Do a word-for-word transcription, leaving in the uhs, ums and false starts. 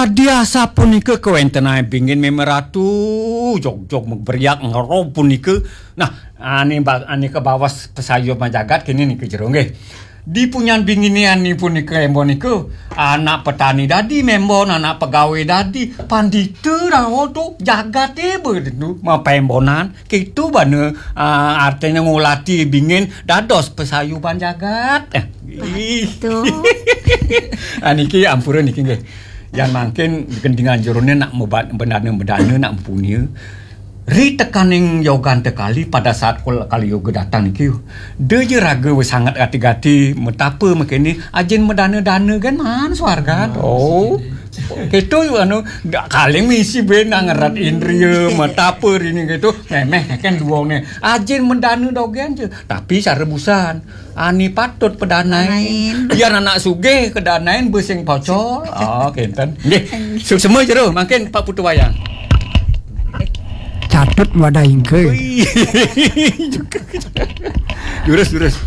Diasa punika kawéntenan bingin mémé ratu, jog-jog maberiak ngerob punika. Nah, ane ba-, ane kabaos pasayuban jagat kene nika jero nggih. Di punyan bingine ane punika embon nika, anak petani dadi mémbon, anak pegawai dadi, pandita rawa tu jagate bedu mapémbonan. Kitu bana, ah, artine ngulati bingin dados pasayuban jagat. Eh, ih. Betul. Ah, niki ampura niki nggih. Yan mangkin gendingan jerone nak mebat-, bendana-bendana nak mempunia. Ri tekaning yogan tekali pada saat kul-, kali yoga datang niki. Da ja raga wis sangat gati-gati, metapa mekene, ajin medana-dana kan man swargan. Oh. Keto anu, dak kaling misi ben nak ngerat indria, metapa rini keto, memeh kan duonge. Ajin medana dogen je, tapi cara busan. Ani patut pedanain. Pedanain. Biar anak sugih kedanain besing pocol. Ah, kenten. Nggih. Suksema jero, mangkin Pak Putu Wayang. Catut wadah ingke. Ui. Jurus, jurus.